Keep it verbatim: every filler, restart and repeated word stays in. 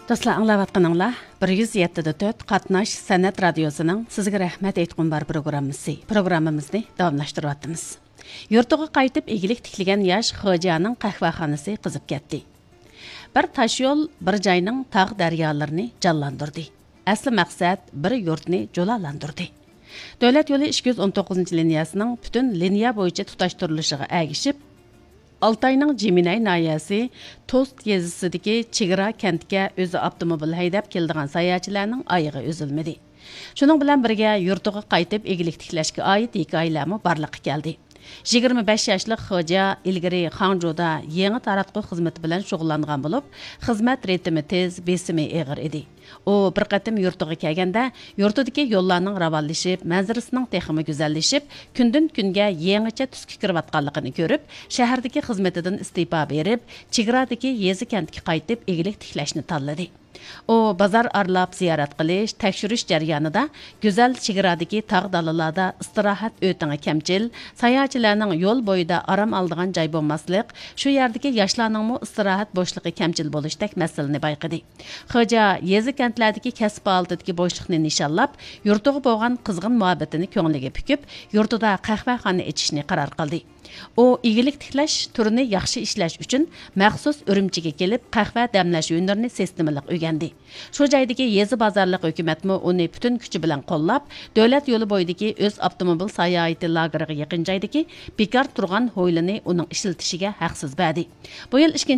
دوستلار، ئاڭلاۋاتقىنىڭلار بىر يۈز يەتتە دە تۆت قاتناش سەنئەت رادىيوسىنىڭ سىزگە رەھمەت ئېيتقۇم بار پروگراممىسى. پروگراممىمىزنى داۋاملاشتۇرۇۋاتىمىز. يۇرتىغا قايتىپ ئىگىلىك تىكلىگەن ياش خوجانىڭ قەھۋەخانىسى قىزىپ كەتتى. بىر تاشيول بىر جاينىڭ تاغ دەريالىرىنى جانلاندۇردى. ئەسلى مەقسەت بىر يۇرتنى جۇلالاندۇردى. دۆلەت يولى ئىككى يۈز ئون توققۇزىنچى لىنىيەسىنىڭ پۈتۈن لىنىيە بويىچە تۇتاشتۇرۇلۇشىغا ئەگىشىپ، ئالتاينىڭ جىمىنەي ناھىيەسى توست يېزىسىدىكى چېگرا كەنتكە ئۆزى ئاپتوموبىل ھەيدەپ كېلىدىغان ساياھەتچىلەرنىڭ ئايىغى ئۈزۈلمىدى. شۇنىڭ بىلەن بىرگە، يۇرتىغا قايتىپ ئىگىلىك تىكلەشكە ئائىت ھېكايىلەرمۇ بارلىققا كەلدى. يىگىرمە بەش ياشلىق خوجا ئىلگىرى خاڭجۇدا يېڭى تاراتقۇ خىزمىتى بىلەن شۇغۇللانغان بولۇپ، خىزمەت رىتىمى تېز، بېسىمى ئېغىر ئىدى. ئۇ بىر قېتىم يۇرتىغا كەلگەندە، يۇرتىدىكى يوللارنىڭ راۋانلىشىپ، مەنزىرىسىنىڭ تېخىمۇ گۈزەللىشىپ، كۈندىن-كۈنگە يېڭىچە تۈسكە كىرىۋاتقانلىقىنى كۆرۈپ، شەھەردىكى خىزمىتىدىن ئىستېپا بېرىپ، چېگرادىكى يېزا كەنتكە قايتىپ ئىگىلىك تىكلەشنى تاللىدى. ئۇ بازار ئارىلاپ زىيارەت قىلىش، تەكشۈرۈش جەريانىدا گۈزەل چېگرادىكى تاغ دالىلاردا ئىستىراھەت ئۆتىڭى كەمچىل، ساياھەتچىلەرنىڭ يول بويىدا ئارام ئالىدىغان جاي بولماسلىق، شۇ يەردىكى ياشلارنىڭمۇ ئىستىراھەت بوشلۇقى كەمچىل بولۇشتەك مەسىلىنى بايقىدى. خوجا يېزا كەنتلەردىكى كەسىپ پائالىيىتىدىكى بوشلۇقنى نىشانلاپ، يۇرتىغا بولغان قىزغىن مۇھەببىتىنى كۆڭلىگە پۈكۈپ، يۇرتىدا قەھۋەخانا ئېچىشنى قارار قىلدى. ئۇ ئىگىلىك تىكلەش تۈرىنى ياخشى ئىشلەش ئۈچۈن مەخسۇس ئۈرۈمچىگە كېلىپ، قەھۋە دەملەش ھۈنىرىنى سىستېمىلىق ئۆگەندى. شۇ جايدىكى يېزا بازارلىق ھۆكۈمەتمۇ ئۇنى پۈتۈن كۈچى بىلەن قوللاپ، دۆلەت يولى بويىدىكى ئۆز ئاپتوموبىل ساياھىتى لاگېرىغا يېقىن جايدىكى بىكار تۇرغان ھويلىنى ئۇنىڭ ئىشلىتىشىگە ھەقسىز بەردى. بۇ يىل ئىككىنچى